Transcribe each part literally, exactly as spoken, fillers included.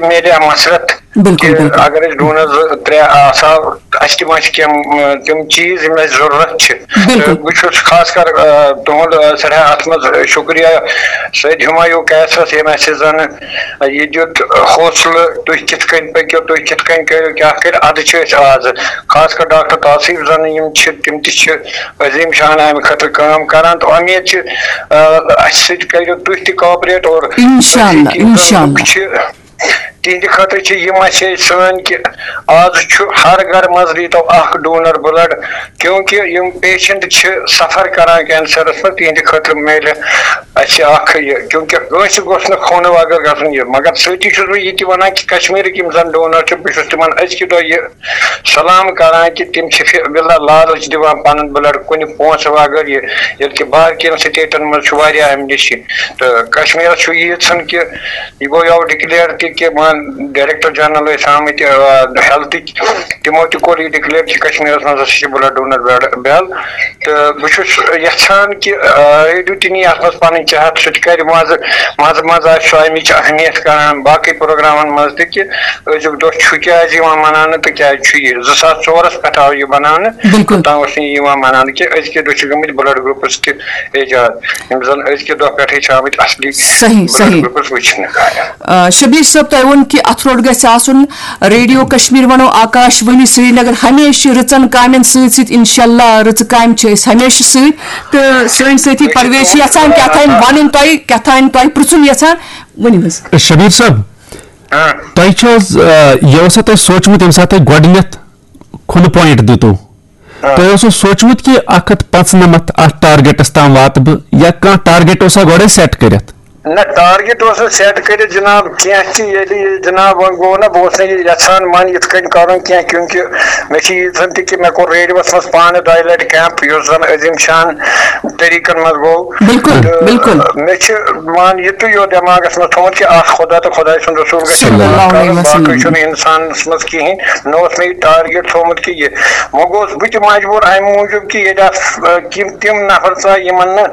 میلہِ ہا مسرت بِلکُل، کہِ بِلکُل۔ اگر أسۍ ڈونر زٕ ترٛےٚ آسہٕ ہا، اَسہِ تہِ ما چھِ کینٛہہ تِم چیٖز یِم اَسہِ ضروٗرت چھِ۔ بِلکُل۔ تہٕ بہٕ چھُس خاص کر آ، تُہُنٛد آ، سٮ۪ٹھاہ اَتھ منٛز شُکریہ سید ہمایوٗ قیصرس، ییٚمۍ اَسہِ زَن یہِ دیُت حوصلہٕ، تُہۍ کِتھ کٔنۍ پٔکِو، تُہۍ کِتھ کٔنۍ کٔرِو، کیٛاہ کٔرِو، اَدٕ چھِ أسۍ آز خاص کر ڈاکٹر تاثیف زَن یِم چھِ، تِم تہِ چھِ عظیٖم شان اَمہِ خٲطرٕ کٲم کران۔ تہٕ اُمید چھِ آ، اَسہِ سۭتۍ کٔرِو تُہۍ تہِ کاپریٹ اور اِنشاءاللہ، أزِکۍ یِم زَن اِنشاءاللہ۔ لُکھ چھِ، تِہنٛدِ خٲطرٕ چھِ یہِ مسیج سٲنۍ کہِ آز چھُ ہر گرٕ منٛز دیٖتو اکھ ڈونر بلڈ، کیونکہ یِم پیشنٹ چھِ سفر کران کینسرس منٛز، تِہنٛدِ خٲطرٕ میلہِ اَسہِ اکھ یہِ، کیونکہ کٲنٛسہِ گوٚژھ نہٕ خوٗنہٕ وغٲر گژھُن یہِ۔ مگر سۭتی چھُس بہٕ یہِ تہِ وَنان کہِ کشمیٖرٕکۍ یِم زَن ڈونر چھِ، بہٕ چھُس تِمن أزکہِ دۄہ یہِ سلام کران کہِ تِم چھِ فی الحال لالچ دِوان پنُن بلڈ کُنہِ پونٛسہٕ وغٲر یہِ، ییٚلہِ کہِ باقین سٹیٹن منٛز چھُ واریاہ امہِ نِش یہِ۔ تہٕ کشمیٖرس چھُ ییٖژ ہن کہِ یہِ گوٚو یَوٕ ڈکلیئر تہِ کہِ مان ڈائریکٹر جنرل ٲسۍ آمٕتۍ ہیلتھٕکۍ، تِمو تہِ کوٚر یہِ ڈکلیئر کہِ کشمیٖرس منٛز ہسا چھِ بلڈ ڈونر بیل۔ تہٕ بہٕ چھُس یژھان کہِ آ، ریڈیو تہِ نی اتھ منٛز پنٕنۍ جہت، سُہ تہِ کرِ منٛزٕ منٛزٕ منٛزٕ آسہِ سُہ امِچ اہمیت کران باقٕے پروگرامن منٛز تہِ کہِ أزیُک دۄہ چھُ کیازِ یِوان مناونہٕ تہٕ کیازِ چھُ یہِ۔ زٕ ساس ژورس پٮ۪ٹھ آو یہِ بناونہٕ، بِلکُل۔ توٚتام اوس نہٕ یہِ یِوان مناونہٕ کہِ أزکہِ دۄہ چھِ گٔمٕتۍ بلڈ گروپس تہِ ایجاد، یِم زن أزکہِ دۄہ پٮ۪ٹھٕے چھِ آمٕتۍ اصلی صحیح، بلڈ صحیح۔ گروپس وٕچھنہٕ۔ آ، شبیر صٲب، تۄہہِ ووٚن کہِ اتھ روٚٹ گژھِ آسُن ریڈیو کشمیر، ونو آکاش وانی سرینگر، ہمیشہِ رٕژن کامٮ۪ن سۭتۍ سۭتۍ۔ انشاءاللہ رٕژٕ کامہِ چھِ أسۍ ہمیشہِ سۭتۍ۔ تہٕ سٲنۍ سٲتھی پرویز چھِ یژھان کیٛاہ تام ونُن تۄہہِ، کیٛاہ تام تۄہہِ پرژھُن یژھان، ؤنِو حظ۔ شبیر صٲب، ہاں۔ تۄہہِ چھُ حظ آ، یہِ اوسا تۄہہِ سوٗنٛچمُت ییٚمہِ ساتہٕ تۄہہِ گۄڈٕنیتھ کھُلہٕ پوینٹ دِتو، تۄہہِ اوسوٕ سوٗنٛچمُت کہِ اکھ ہتھ پانٛژنمتھ اتھ ٹارگیٹس تام واتہٕ بہٕ، یا کانٛہہ ٹارگیٹ اوسا گۄڈے سیٹ کٔرِتھ؟ نہ، ٹارگیٹ اوس نہٕ سیٹ کٔرِتھ جناب کینٛہہ تہِ۔ ییٚلہِ یہِ جناب وۄنۍ گوٚو نہ، بہٕ اوسُس نہٕ یہِ یژھان مان یِتھ کٔنۍ کرُن کینٛہہ، کیونکہ مےٚ چھِ ییٖژ ہن تہِ کہِ مےٚ کوٚر ریڈیوس منٛز پانہٕ دۄیہِ لٹہِ کیمپ، یُس زن عظیم شان طریٖقن منٛز گوٚو۔ بِلکُل، تہٕ بِلکُل۔ مےٚ چھِ مان یہِ تہِ یوت دٮ۪ماغس منٛز تھوٚمُت کہِ اکھ خۄدا تہٕ خۄداے سُنٛد رسول گژھِ صلی اللہ عبادت علیہ کرُن، وسلم۔ باقٕے چھُنہٕ انسانس منٛز کِہینۍ۔ مےٚ اوس مےٚ یہِ ٹارگیٹ تھوٚومُت کہِ یہِ، وۄنۍ گوٚوس بہٕ تہِ مجبوٗر امہِ موٗجوٗب کہِ ییٚتہِ آسہٕ، آ، تِم تِم نفر ژاے یِمن نہٕ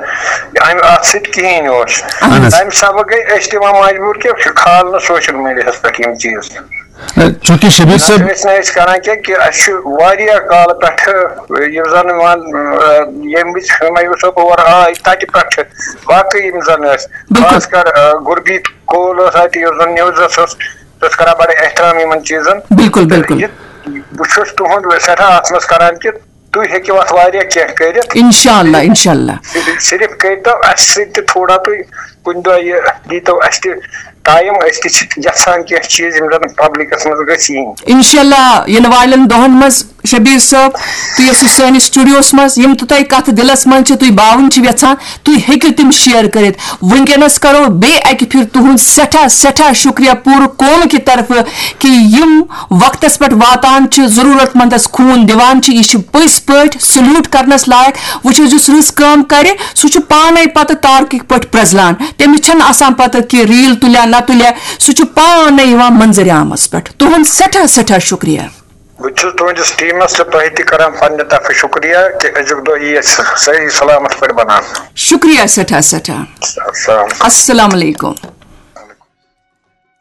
امہِ اتھ سۭتۍ کِہینۍ اوس۔ اہن حظ۔ تمہِ سببہٕ گٔے أسۍ تہِ وۄنۍ مجبوٗر کہِ کھالنہٕ سوشل میڈیاہس پٮ۪ٹھ یِم چیٖز۔ چونکہ شبیر صٲب، نتہٕ ٲسۍ نہٕ أسۍ کران کینٛہہ کہِ اَسہِ چھُ واریاہ کالہٕ پٮ۪ٹھٕ، یُس زن وۄنۍ، آ، ییٚمہِ وِزِ ہُمایوٗ صٲب اور آے، تتہِ پٮ۪ٹھٕ باقٕے یِم زن ٲسۍ، بِلکُل۔ خاص کر، آ، گُربیٖت کول اوس اتہِ، یُس زن نیوزس اوس، سُہ اوس کران بڑٕ احترام یِمن چیٖزن۔ بِلکُل، بِلکُل۔ یہِ، بہٕ چھُس تُہُنٛد سٮ۪ٹھاہ اتھ منٛز کران کہِ تُہۍ ہیٚکِو اتھ واریاہ کینٛہہ کٔرِتھ۔ انشاءاللہ، انشاءاللہ۔ صرف، صرف کٔرۍتو اسہِ سۭتۍ تہِ تھوڑا تُہۍ کُنہِ دۄہ یہِ، دیٖتو اسہِ تہِ ٹایم، أسۍ تہِ چھِ یژھان کینٛہہ چیٖز یِم زن پبلکس منٛز گٔژھۍ یِنۍ۔ انشاءاللہ یِنہٕ والٮ۪ن دۄہن منٛز شبیر صٲب، تُہۍ ٲسِو سٲنِس studio-ہس منٛز، یِم تہِ تۄہہِ کتھٕ دِلس منٛز چھِ، تُہۍ باوٕنۍ چھِ یژھان، تُہۍ ہیٚکِو تِم share کٔرِتھ۔ وٕنکیٚنس کرو بیٚیہِ اکہِ پھِرِ تُہُنٛد سٮ۪ٹھاہ، سٮ۪ٹھاہ شُکریہ پوٗرٕ قومہٕ کہِ طرفہٕ کہِ یِم وقتس پٮ۪ٹھ واتان چھِ، ضروٗرت مندس خوٗن دِوان چھِ۔ یہِ چھِ پٔزۍ پٲٹھۍ salute کرنس لایق۔ وٕچھ حظ، یُس رٕژ کٲم کرِ، سُہ چھُ پانے پتہٕ تارکٕکۍ پٲٹھۍ پرٛزلان۔ تٔمِس چھَنہٕ آسان پتہ کہِ reel تُلیا نہ تُلیا، سُہ چھُ پانے یِوان منظرِ عامس پٮ۪ٹھ۔ تُہُنٛد سٮ۪ٹھاہ، سٮ۪ٹھاہ شُکریہ۔ بہٕ چھُس تُہٕنٛدِس ٹیٖمس تہٕ تۄہہِ تہِ کران پننہِ طرفہٕ شُکریہ کہِ أزیُک دۄہ یی اَسہِ صحیح سلامت پٲٹھۍ بناونہٕ۔ شُکریہ، سٮ۪ٹھاہ، سٮ۪ٹھاہ۔ السلام۔ السلام علیکم۔